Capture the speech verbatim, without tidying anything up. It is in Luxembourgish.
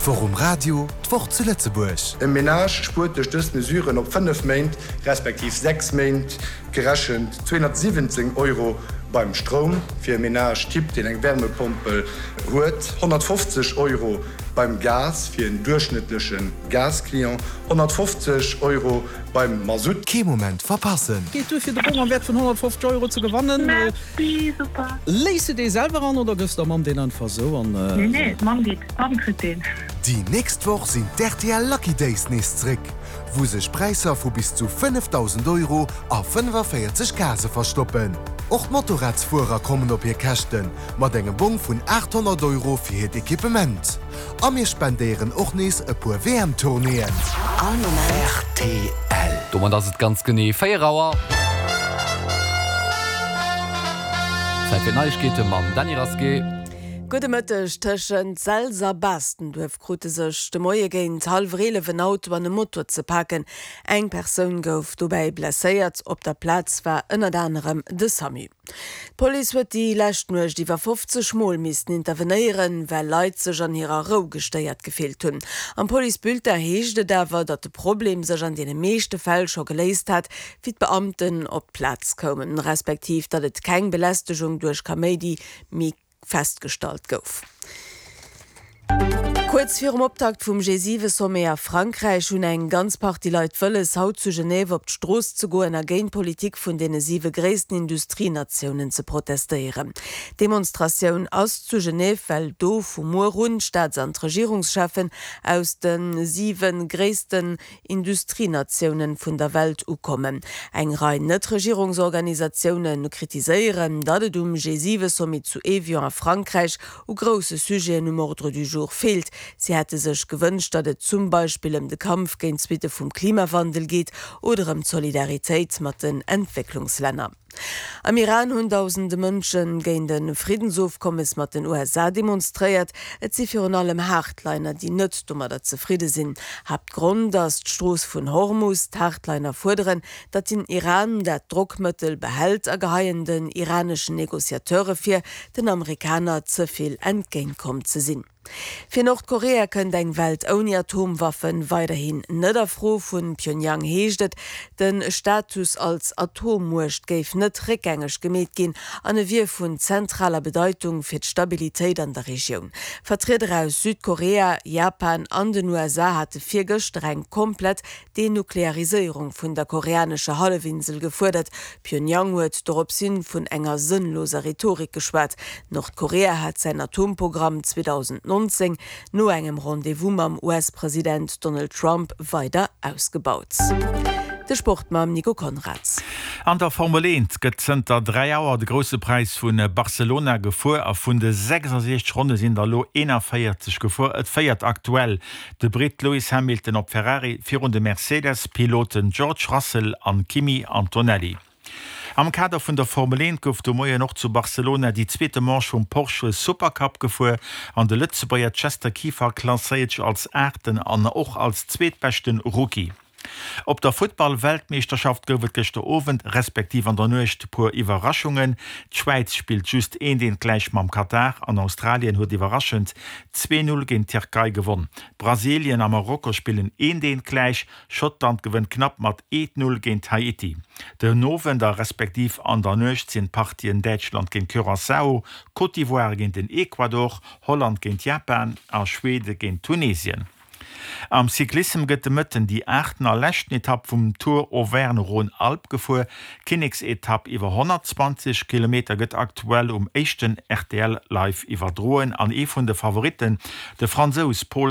D'Woch um Radio, d'Woch zu Lëtzebuerg. E Menage spuert duerch dës Mesuren op fënnef Méint, respektiv sechs Méint gerechent, zweehonnertsiwwenzéng Euro beim Stroum, fir e Menage type, deen eng Wärmepompel huet, honnertfofzeg Euro beim Gas, fir en duerchschnëttleche Gasclient, honnertfofzeg Euro beim Masutt. Kee Moment verpassen! Geet duer fir de Bong am Wäert vun honnertfofzeg Euro ze gewannen. Merci, super. Léiss de dee selwer an oder gëffs der Mamm deen einfach sou an? Nee, nee, d'Mamm geet, d'Mamm kritt deen. Déi nächst Woch sinn d'R T L Lucky Days nees zréck, wou sech Präisser vu bis zu fënnefdausend Euro a fënnefavéierzeg Case verstoppen. Och d'Motorradsfuerer kommen op hir Käschten, mat engem Bong vun aathonnert Euro fir hiert Equipement. A mir spendéieren och nees e puer W M-Tournéeën. All Moment. R T L. Domat ass et ganz genee véier Auer. Zäit fir Neiegkeete mam Dany Rasqué. Gudde Mëtteg. Tëschent Selz a Baastenduerf krute sech de Moie géint hallwer eelef en Auto an e Moto ze paken. Eng Persoun gouf dobäi blesséiert. Op der Plaz war ënnert anerem de SAMU. D'Police huet déi lescht Nuecht iwwer fofzeg Mol missten intervenéieren, well Leit sech an hirer Rou gestéiert gefillt hunn. Am Policebulletin heescht et awer, datt de Problem sech an deene meeschte Fäll scho geléist hat, wéi d'Beamten op d'Plaz koumen, respektiv datt et keng Belästegung duerch Kaméidi méi festgestallt gouf. Kuerz virum Optakt vum G siwe Sommet a Frankräich hunn eng ganz Partie Leit wëlles, haut zu Genève op d'Strooss ze goen a géint d'Politik vun deene siwe gréissten Industrienatiounen ze protestéieren. D'Demonstratioun ass zu Genève, well do vu muer un d'Staats an d'Regierungscheffen aus de siwe gréissten Industrienatiounen vun der Welt ukommen. Eng Rei Net-Regierungsorganisatioune kritiséieren, datt et um G siwe Sommet zu Évian a Frankräich u grousse Sujeten um Ordre du jour feelt. Si hätte sech gewënscht, datt et zum Beispill ëm de Kampf géint d'Suitte vum Klimawandel geet oder ëm d'Solidaritéit mat den Entwécklungslänner. Am Iran hunn dausende Mënsche géint e Friddensofkommes mat den U S A demonstréiert. Et si virun allem Hardliner, déi net domadder zefridde sinn. Haaptgrond ass d'Strooss vun Hormus. D'Hardliner fuerderen, datt den Iran dat Drockmëttel behält a geheien den iraneschen Negociateure vir, den Amerikaner ze vill entgéintkomm ze sinn. Fir Nordkorea kënnt eng Welt ouni Atomwaffen weiderhin net a Fro. Vun Pyongyang heescht et, de Status als Atommuecht géif net réckgängeg gemeet ginn an e wier vun zentraler Bedeitung fir d'Stabilitéit an der Regioun. Vertrieder aus Südkorea, Japan an den U S A hate virgëschter eng komplett Denukleariséierung vun der koreanescher Hallefinsel gefuerdert. Pyongyang huet doropshin vun enger sënnloser Rhetorik geschwat. Nordkorea hat säin Atomprogramm zweedausendnonzéng no engem Rendez-vous mam U S-President Donald Trump weider ausgebaut. De Sport mam Nico Konrads. An der Formel eent gëtt zënter dräi Auer de Grousse Präis vu Barcelona gefuer a vun de sechsasechzeg Ronne sinn der elo eenanvéierzeg gefuer. Et féiert aktuell de Britt Lewis Hamilton op Ferrari virun de Mercedes-Piloten George Russell an Kimi Antonelli. Am Kader vun der Formel eent gouf de Moien och zu Barcelona déi zweete Manche vum Porsche Supercup gefuer an de Lëtzebuerger Chester Kieffer klasséiert sech als Aachten an och als zweetbeschte Rookie. Op der Futtball-Weltmeeschterschaft gouf et gëschter Owend respektiv an der Nuecht puer Iwwerraschungen. D'Schwäiz spillt just eent eent gläich mam Katar an Australien huet iwwerraschend zwee Null géint d'Tierkei gewonn. Brasilien a Marokko spillen eent eent gläich, Schottland gewënnt knapp mat eent Null géint Haiti. Den Owend a respektiv an der Nuecht sinn d'Partien Däitschland géint Curaçao, Côte d'Ivoire géint den Ecuador, Holland géint Japan a Schwede géint Tunesien. Am Cyclissem gëtt de Mëtten déi aachten a leschten Etapp vum Tour Auvergne-Rhône-Alpes gefuer. D'Kinneksetapp iwwer honnertzwanzeg Kilometer gëtt aktuell um éischten R T L live iwwerdroen an ee vun de Favoritten, de Fransous Paul